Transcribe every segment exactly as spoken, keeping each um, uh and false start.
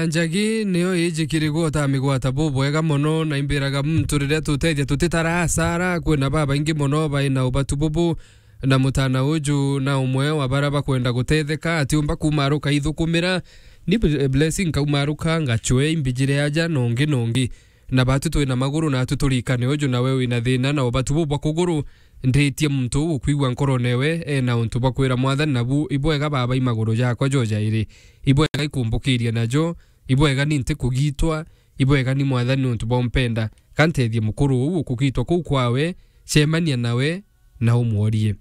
Njagi niyo ijikirigwo ta migwata bubwega mono, na imbiraga muntu riria tutethia tutitara asara. Kwina babaingi mono baina ubatu bubu, na mutana uju na umwe wa bara bakwenda gutetheka, atiumba kumaruka ithukumira. Ni bl-, blessing kaumaruka, ngachwe imbijire aja nongi nongi. Na batu twina maguru, natu turikane uju nawe wina thina na ubatu bubwa kuguru. Nditie muntu uu ukwigua nkorone we ena untu bwa kwira Mwathani, nabu ibwega baba i maguru jakwa jo jairi. Ibwega ikumbukiria najo, ibwega ni nti kugitwa, ibwega ni Mwathani untu bwa umpenda. Kantethie mukuru uu ukugitwa kuu kwawe, cemania nawe na umworie.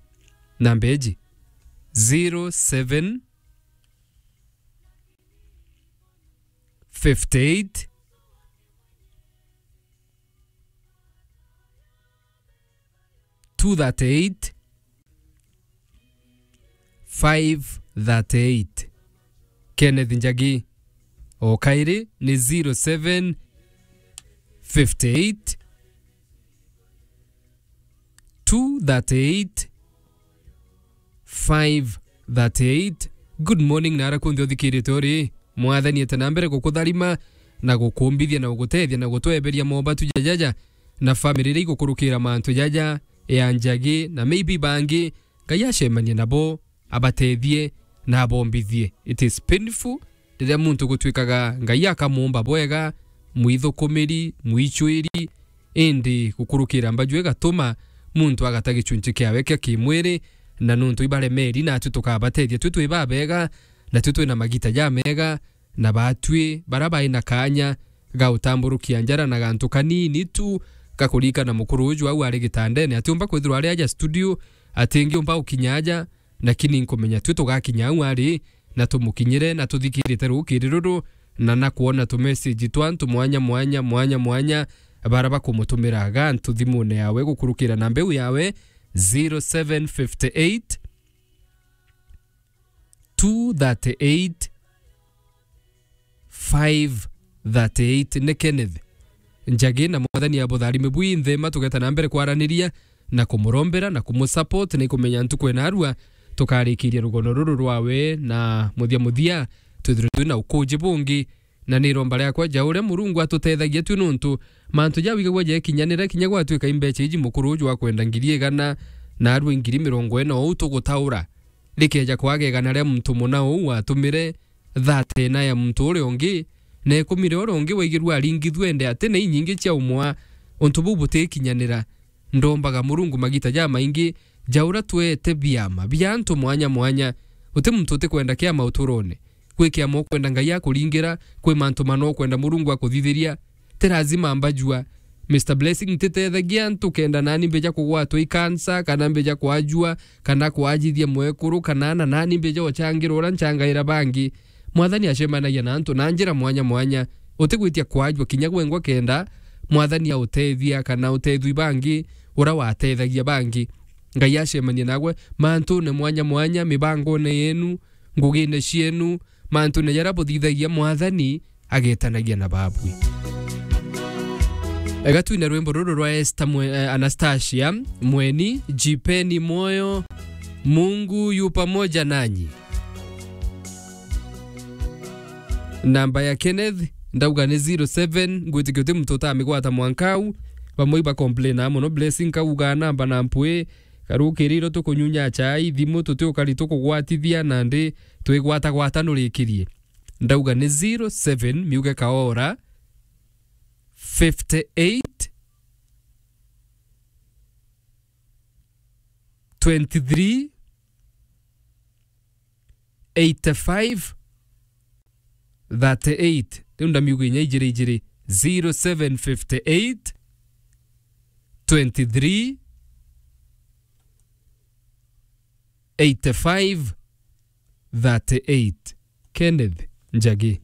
Namba iji, zero seven fifty eight, two thirty eight, five thirty eight. Kenneth Njagi. O kairi ni zero seven fifty eight, two thirty eight, five thirty eight. Good morning, na ara kunthe uthikirite uri. Mwathani ete na mbere gukutharima na gukumbithia na gugutethia na gutweberia mobatu jajaja na family iria igukurukira mantu jaja ya Njagi na maybe bangi. Ngai acemanie nabo, abatethie na abombithie. It is painful riria muntu gutwikaga Ngai akamuumba bwega, mwithukumiri, mwichwiri, indi gukurukira mbaju igatuma muntu agata gichunchi kiawe kia kimwiri, na nuntu ibaremeri, natu tukabatethia twi twi babega, na twi twina magita jamega, na batwi bara bai na kanya ga utamburukia njara na gantu kanini tu ga kurikana mukuru uju au ari gitandene, atiumba kwithirwa ari aja studio, atingiumba ukinya aja, lakini nkumenya twi tugakinya au ari, na tumukinyire, na tuthikirite rukiri ruru, na na kwona tu message twa antu mwanya mwanya, mwanya mwanya, bara bakumutumira gantu thimune yawe gukurukira na mbeu yawe, zero seven fifty eight, two thirty eight, five thirty eight. Ni Kenneth Njagi, na Mwathani abutharime bwinthe, ma tugeta na mbere kwaraniria na kumurombera na kumusupport, na ikumenya ntuku ena arua tukarikiria rugono ruru rwawe, na muthia muthia twithirwe twina ukuji bungi. Na ni iromba riakwa ja uria Murungu atutethagia twi, nuntu mantu jawigagua jekinyanira kinya gwatwika imbecha iji mukuru uju akwenda ngiri igana na arua ngiri mirongo ina, ou tugutaura. Rikeja kwaga igana ria muntu muna uu watumire, thate na ya muntu uria ungi, na ikumi ria uria ungi waigirua aringithua, ende ati na inyingi cia umwa. Untu buu butikinyanira. Ndombaga Murungu magita jamaingi ja uria tweete biama bia antu mwanya mwanya. Uti muntu utikwenda kiama uturone. Kwi kiama ukwenda Ngai akuringira, kwi mantu mana ukwenda Murungu akuthithiria. Ti lazima mbajua. Mister Blessing, ntitethagia antu kenda nani mbija kugwatwa i cancer, kana mbija kwajua, kana kwajithia mwekuru, kana ana nani mbija uchangirwa uria nchangaira bangi. Mwathani acemanagia na antu na njira mwanya mwanya. Utigwitia kwajua kinya gwengwa kenda Mwathani autethia kana utethwi bangi uria watethagia bangi. Ngai acemanie nagwe mantune mwanya mwanya, mibangone yenu, ngugine cienu, mantune jaria buthithagia, Mwathani agetanagia na babwi. Ega twine rwimbo ruru rwa Esther Mwe-, eh, Anastasia Mweni, Jipeni Moyo, Mungu yu pamoja nanyi. Namba ya Kenneth, ndauga ni zero seven, ngwitikia uti muntu utamigwata mwanka au, bamwe iba complain mono, Blessing kauga namba na mpwi, karukiriro tukunyunya chai, thimu tutiukari tukugwatithia, nandi twigwatagwata nurikirie. Ndauga ni zero seven, miuge kaora, fifty eight, twenty three, eighty five, thirty eight. Riu ndamiuga inya ijiri ijiri, zero seven fifty eight, twenty three, eighty five, thirty eight. Kenneth Njagi.